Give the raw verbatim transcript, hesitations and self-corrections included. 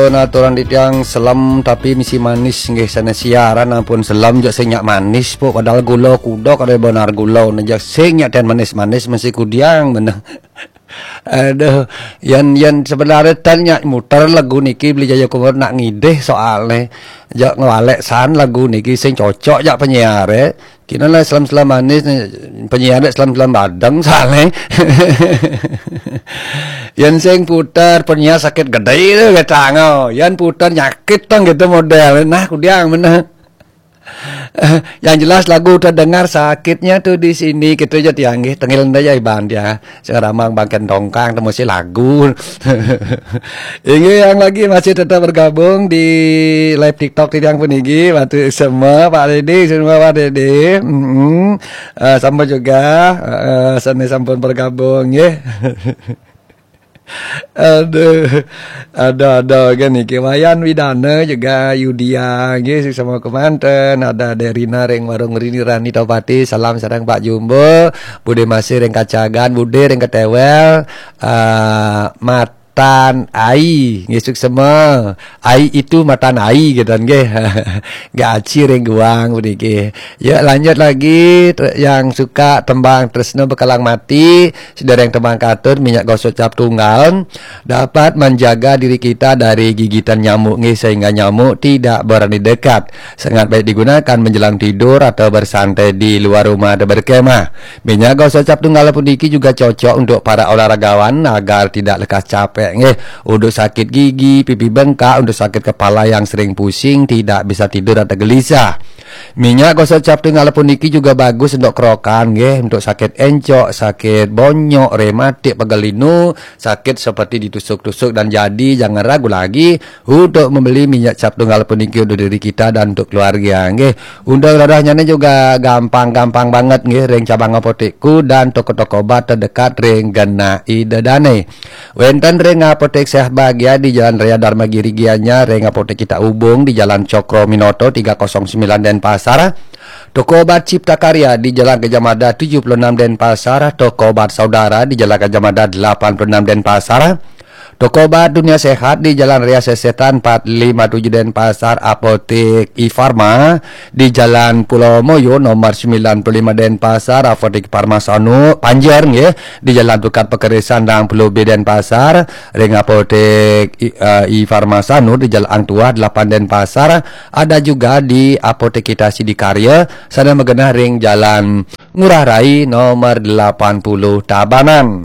Nah, aturan di tiang selem tapi misi manis nggih, sana siaran ampun selem jok sing nyak manis, pok, padahal gula kudok ada benar gula, nah, jok sing nyak ten manis-manis mesti kudiang bener. Aduh, yan, yan sebenarnya ten nyak muter lagu niki beli Jaya Kumur nak ngidih soalnya. Jok ngewalek san lagu niki sing cocok jak penyiar, eh. Kina lah selam-selam manis nih, penyiar dek selam-selam badeng soalnya. Yan sing putar penyiar sakit gede itu kata ngau. Yan putar nyakit tang gitu model. Nah, kudiang mana? Yang jelas lagu terdengar sakitnya tuh di sini gitu aja tiang nggih. Tengil nda ya iban dia. Sing ramang bangken dongkang temu si lagu. Inggih, yang lagi masih tetap bergabung di live TikTok tiang puniki, Pak semua, Pak Dede, semua Pak Dede. Mm-mm. Eh, sama juga eh, seni sampun bergabung ya. Aduh, ada-ada kan niki. Wayan Widana juga Yudia nggih, sama kemanten. Ada Derina ring warung Rini Rani Topati. Salam sareng Pak Jumbo. Bude Masih ring Kacagan, Bude ring Ketewel. Eh, matan ai nggih, suksema. Ai itu matan ai gitu nggih. Gaci ring guang puniki. Ya, lanjut lagi, ter- yang suka tembang Tresno Bekalang Mati, sedereng tembang katun, minyak gosok cap tunggal dapat menjaga diri kita dari gigitan nyamuk nggih, sehingga nyamuk tidak berani dekat. Sangat baik digunakan menjelang tidur atau bersantai di luar rumah atau berkemah. Minyak gosok cap tunggal puniki juga cocok untuk para olahragawan agar tidak lekas capek nggih. Untuk sakit gigi, pipi bengkak, untuk sakit kepala yang sering pusing, tidak bisa tidur atau gelisah. Minyak gosok cap tunggal puniki juga bagus untuk kerokan nggih, untuk sakit encok, sakit bonyok, rematik, pegal linu, sakit seperti ditusuk-tusuk dan jadi, jangan ragu lagi untuk membeli minyak cap tunggal puniki untuk diri kita dan untuk keluarga nggih. Untuk dadahnya ini juga gampang-gampang banget nggih, ring cabang apotekku dan toko-toko obat terdekat ring genah ida dane. Wenten ring Apotek Sehat Bahagia di Jalan Raya Dharma Giri Gianyar, ring Apotek Kita Ubung di Jalan Cokro Minoto tiga kosong sembilan Denpasar, toko obat Cipta Karya di Jalan Gajah Mada tujuh puluh enam Denpasar, toko obat Saudara di Jalan Gajah Mada delapan puluh enam Denpasar, toko obat Dunia Sehat di Jalan Raya Sesetan empat lima tujuh Denpasar, Apotek Ifarma di Jalan Pulau Moyo nomor sembilan puluh lima Denpasar, Apotek Farmasanu Panjer nggih, di Jalan Tukad Pekerisan enam puluh B Denpasar, ring Apotek I, eh, I Farmasanu di Jalan Ang Tuah delapan Denpasar, ada juga di Apotek Kita Sidikarya, sana magenah ring Jalan Ngurah Rai nomor delapan puluh Tabanan.